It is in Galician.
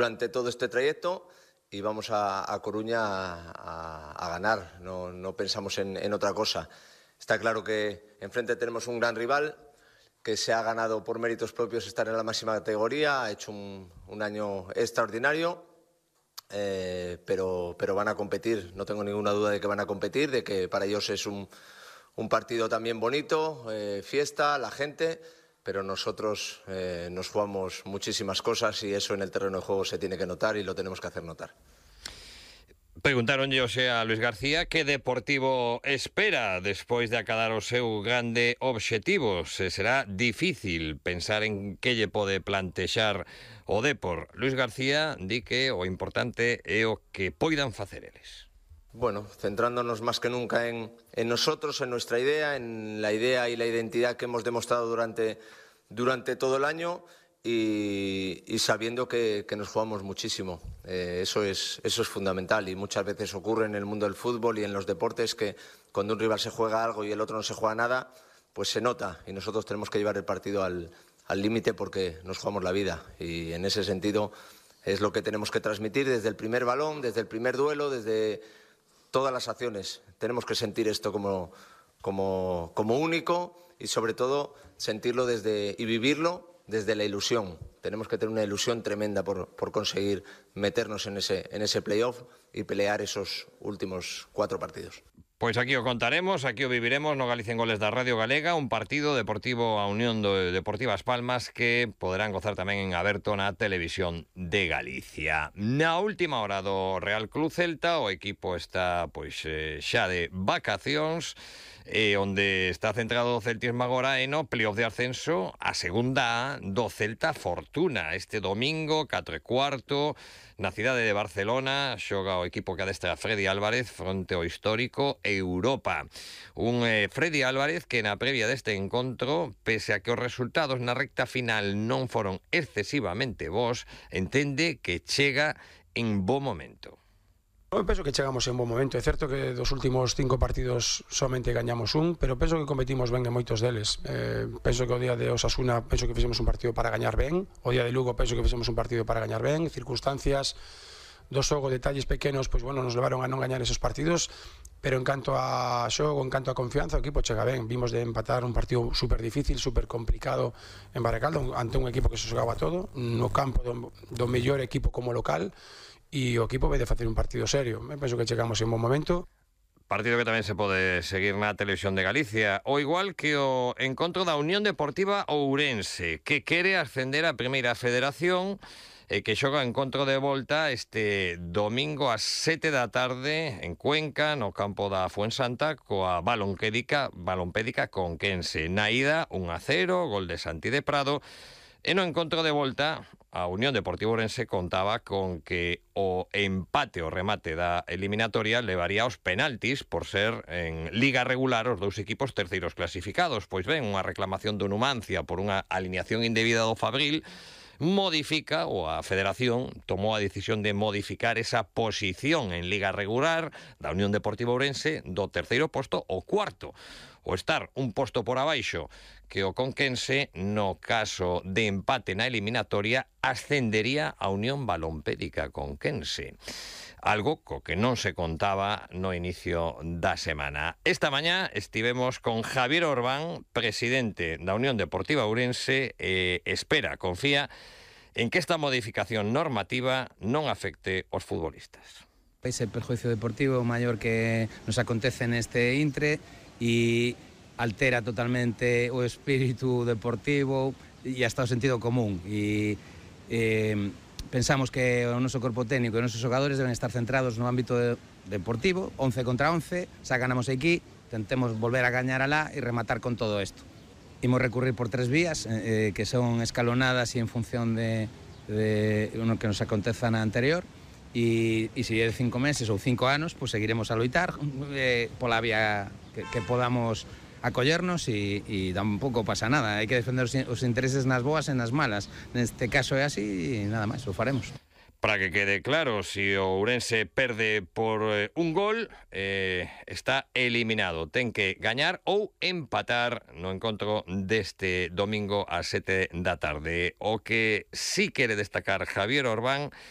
durante todo este trayecto y vamos a Coruña a ganar, no pensamos en otra cosa. Está claro que enfrente tenemos un gran rival que se ha ganado por méritos propios estar en la máxima categoría, ha hecho un año extraordinario, pero van a competir, no tengo ninguna duda de que van a competir, de que para ellos es un partido también bonito, fiesta, la gente, pero nosotros nos jugamos muchísimas cosas y eso en el terreno de juego se tiene que notar y lo tenemos que hacer notar. Preguntaron a Luis García que Deportivo espera despois de acadar o seu grande obxectivo. Se será difícil pensar en que lle pode plantexar o Depor. Luis García di que o importante é o que poidan facer eles. Bueno, centrándonos más que nunca en nosotros, en nuestra idea, en la idea y la identidad que hemos demostrado durante todo el año y sabiendo que nos jugamos muchísimo. Eso es fundamental y muchas veces ocurre en el mundo del fútbol y en los deportes que cuando un rival se juega algo y el otro no se juega nada, pues se nota y nosotros tenemos que llevar el partido al límite porque nos jugamos la vida y en ese sentido es lo que tenemos que transmitir desde el primer balón, desde el primer duelo, desde todas las acciones. Tenemos que sentir esto como único y sobre todo sentirlo y vivirlo desde la ilusión. Tenemos que tener una ilusión tremenda por conseguir meternos en ese playoff y pelear esos últimos 4 partidos. Pois aquí o contaremos, aquí o viviremos no Galicia en Goles da Radio Galega, un partido Deportivo a Unión Deportiva As Palmas que poderán gozar tamén en aberto na televisión de Galicia. Na última hora do Real Club Celta, o equipo está xa de vacacións, onde está centrado o celtismo agora no playoff de ascenso a segunda A do Celta Fortuna. Este domingo, 4:15, na cidade de Barcelona, xoga o equipo que adestra Freddy Álvarez fronte ao histórico Europa. Un Freddy Álvarez que na previa deste encontro, pese a que os resultados na recta final non foron excesivamente bons, entende que chega en bo momento. Eu penso que chegamos en bon momento. É certo que dos últimos 5 partidos somente gañamos un, pero penso que competimos ben en moitos deles. Penso que o día de Osasuna penso que fixemos un partido para gañar ben, o día de Lugo penso que fixemos un partido para gañar ben, circunstancias do xogo, detalles pequenos, pois bueno, nos levaron a non gañar esos partidos, pero en canto a xogo, en canto a confianza, o equipo chega ben. Vimos de empatar un partido super difícil, super complicado en Baracaldo, ante un equipo que se xogaba todo, no campo do mellor equipo como local, e o equipo vai de facer un partido serio. Me penso que chegamos en bon momento. Partido que tamén se pode seguir na televisión de Galicia, o igual que o encontro da Unión Deportiva Ourense, que quere ascender a Primeira Federación e que xoga encontro de volta este domingo ás 7 da tarde en Cuenca, no campo da Fuensanta, coa Balompédica Conquense. Na ida, 1-0, gol de Santi de Prado. E no encontro de volta, a Unión Deportiva Ourense contaba con que o empate, o remate da eliminatoria levaría aos penaltis por ser en liga regular os dous equipos terceiros clasificados. Pois ben, unha reclamación do Numancia por unha alineación indebida do Fabril modifica, ou a Federación tomou a decisión de modificar esa posición en liga regular da Unión Deportiva Ourense do terceiro posto ao cuarto, o estar un posto por abaixo que o Conquense. No caso de empate na eliminatoria ascendería a Unión Balompédica Conquense, algo co que non se contaba no inicio da semana. Esta mañá estivemos con Javier Orbán, presidente da Unión Deportiva Ourense, confía en que esta modificación normativa non afecte aos futbolistas. Ese perjuicio deportivo maior que nos acontece neste intre e altera totalmente o espírito deportivo e hasta o sentido común e pensamos que o noso corpo técnico e os nosos xogadores deben estar centrados no ámbito deportivo, 11 contra 11, xa ganamos aquí, tentemos volver a gañar alá e rematar con todo isto. Imos recurrir por 3 vías que son escalonadas e en función de lo que nos aconteza na anterior e se é de 5 meses ou 5 anos, pues seguiremos a loitar pola vía que podamos acollernos e tampouco pasa nada. Hai que defender os intereses nas boas e nas malas. Neste caso é así e nada máis, o faremos. Para que quede claro, si o Ourense perde por un gol, está eliminado. Ten que gañar ou empatar no encontro deste domingo ás 7 da tarde. O que sí quere destacar Javier Orbán